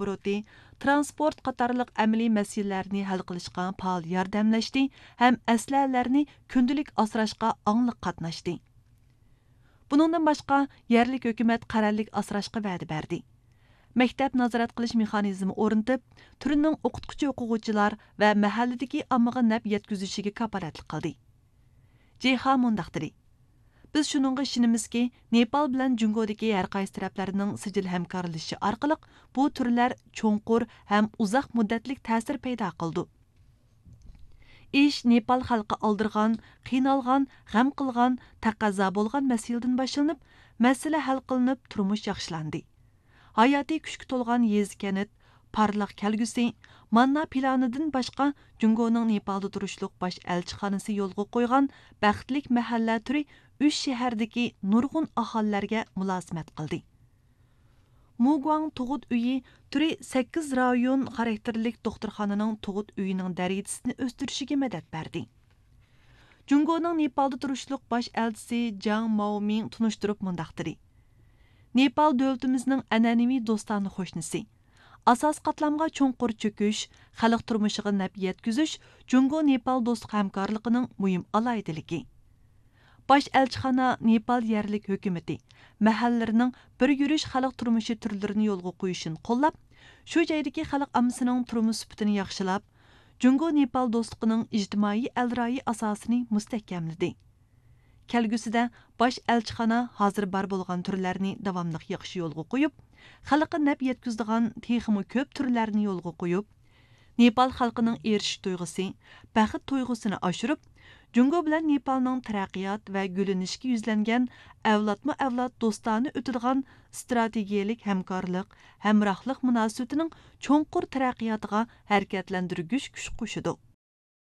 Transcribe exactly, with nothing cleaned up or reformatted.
ئوبوروتى، تىرانسپورت قاتارلىق ئەمەلىي مەسىلىلەرنى ھەل قىلىشقا پائال ياردەملەشتى ھەم ئەسلىھەلەرنى كۈندىلىك ئاسراشقا ئاڭلىق قاتناشتى. بۇنىڭدىن باشقا، يەرلىك ھۆكۈمەت قەرەللىك ئاسراشقا ۋەدە بەردى. مەكتەپ نازارەت قىلىش مېخانىزمى ئورنىتىپ، تۈرنىڭ ئوقۇتقۇچى-ئوقۇغۇچىلار ۋە مەھەللىدىكى ئاممىغا نەپ يەتكۈزۈشىگە كاپالەتلىك قىلدى. جېخا مۇنداق دېدى: بىز شۇنىڭغا ئىشىنىمىزكى، نېپال بىلەن جۇڭگودىكى ھەر قايسى تەرەپلەرنىڭ سىجىل ھەمكارلىشىشى ئارقىلىق بۇ تۈرلەر چوڭقۇر ھەم ئۇزاق مۇددەتلىك تەسىر پەيدا قىلىدۇ. ئىش نېپال خەلقى ئالدىرىغان، قىينالغان، غەم قىلغان، تەقەززا بولغان مەسىلىدىن باشلىنىپ، مەسىلە ھەل قىلىنىپ، تۇرمۇش ياخشىلاندى. ھاياتىي كۈچكە تولغان يېزا-كەنت، پارلاق كەلگۈسى، ماننا پىلانىدىن باشقا، جۇڭگونىڭ نېپالدا تۇرۇشلۇق باش ئەلچىخانىسى يولغا قويغان بەختلىك مەھەللە تۈرى ئۈچ شەھەردىكى نۇرغۇن ئاھالىلەرگە مۇلازىمەت قىلدى. مۇگۇاڭ تۇغۇت ئۆيى تۈرى سەككىز رايون خاراكتېرلىك دوختۇرخانىنىڭ تۇغۇت ئۆيىنىڭ دەرىجىسىنى ئۆستۈرۈشىگە مەدەت بەردى. جۇڭگونىڭ نېپالدا تۇرۇشلۇق باش ئەلچىسى جاڭ ماۋمىڭ تونۇشتۇرۇپ مۇنداق دېدى: نېپال دۆلىتىمىزنىڭ ئەنئەنىۋى دوستانە قوشنىسى. ئاساسىي قاتلامغا چوڭقۇر چۆكۈش، خەلق تۇرمۇشىغا نەپ يەتكۈزۈش جۇڭگو نېپال دوستلۇق ھەمكارلىقىنىڭ مۇھىم ئالاھىدىلىكى. باش ئەلچىخانا نېپال يەرلىك ھۆكۈمىتى، مەھەللىلىرىنىڭ بىر يۈرۈش خەلق تۇرمۇشى تۈرلىرىنى يولغا قويۇشىنى قوللاپ، شۇ جايدىكى خەلق ئاممىسىنىڭ تۇرمۇش سۈپىتىنى ياخشىلاپ، جۇڭگو نېپال دوستلۇقىنىڭ ئىجتىمائىي ئەلرايى ئاساسىنى مۇستەھكەملىدى. كەلگۈسىدە باش ئەلچىخانا ھازىر بار بولغان تۈرلەرنى داۋاملىق ياخشى يولغا قويۇپ، خەلققە نەپ يەتكۈزىدىغان تېخىمۇ كۆپ تۈرلەرنى يولغا قويۇپ، نېپال خەلقىنىڭ ئېرىشىش تۇيغۇسى، بەخت تۇيغۇسىنى ئاشۇرۇپ، جۇڭگو بىلەن نېپالنىڭ تەرەققىيات ۋە گۈللىنىشكە يۈزلەنگەن ئەۋلادمۇ ئەۋلاد دوستانە ئۆتىدىغان ئىستراتېگىيەلىك ھەمكارلىق، ھەمراھلىق مۇناسىۋىتىنىڭ چوڭقۇر تەرەققىياتىغا ھەرىكەتلەندۈرگۈچ كۈچ قوشىدۇ.